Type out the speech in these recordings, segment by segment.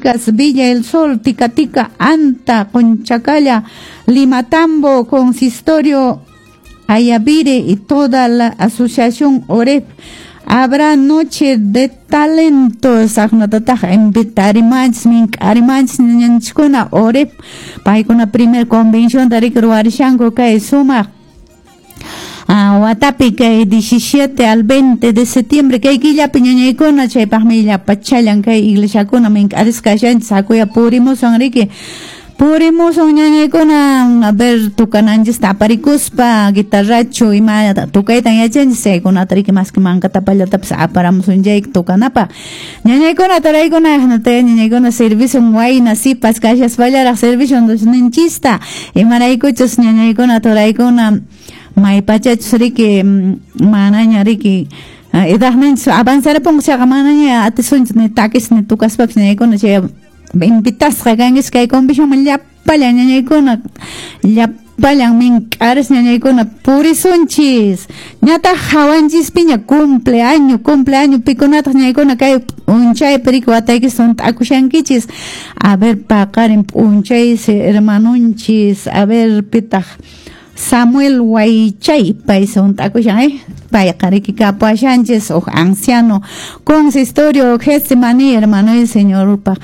Chicas, Villa El Sol, Tica Anta, Conchacalla, Limatambo, Consistorio Ayavire y toda la asociación OREF. Habrá noche de talentos, aqnatataq invitarimanchis, mink'arimanchis ñañanchiskuna OREF, paykuna primer convención riki ruwarishanku kay sumaq watapi kay 17 al 20 de septiembre kay killapi ñañaykuna, chaypaqmi llapachallan kay iglesiakuna mink'arisqa kashanchis, hakuya purimusun riki. Purimusun ñañaykuna, a ver, tukananchista aparikuspa, guitarrachu ima tukaytan yachanchis, chaykunata riki maski mankatapallatapas aparamusun chay tukanapaq. Ñañaykuna, turaykuna, ñañaykuna servisun wayna sipas kashaspallaraq servisun Diosninchista, imaraykuchus ñañaykuna, turaykuna, maypachachus riki manaña riki edadninchis avanzarapunqa chayqa manaña atisunchis ni takis ni tukaspapas ñañaykuna, chay invitasqa kankichis kay convencionman llapallan ñañaykuna, llapallan mink'aris ñañaykuna purisunchis. Ñataq hawanchispiña cumpleaños, cumpleaños pikunataq ñañaykuna kay p'unchaypi riki wataykis hunt'akushankichis. A ver, paqarin p'unchaysi hermanunchis, a ver, pitaq Samuel Waychay, pay hunt'akushan, payqa riki kapuashanchis huk anciano consistorio Getsemaní, hermano y señorpaq.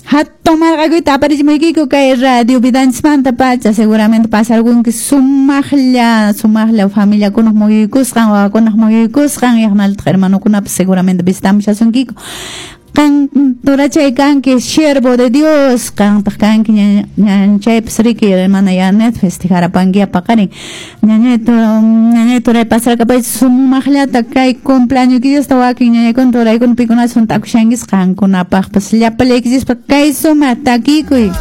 Hatun marqakuyta aparichimuykiku kay radio Vidanchismanta pacha, seguramente pasarqunki sumaqlla, sumaqlla familiakunaq muyuykusqan, wawakunaq muyuykusqan, yaqnaltaq hermanokunapas seguramente visitamushasunkiku. Qan turachay kanki siervo de Dios, qantaq kanki ñanchaypas riki hermana Yanet festejarapanki paqarin. Ñañay turay pasarkapaychis sumaqllata kay cumpleaños killasta wakin ñañaykuna turaykuna pikunapas hunt'akushankis qankunapaqpas llapallaykichishpa kay sumaq takikuy.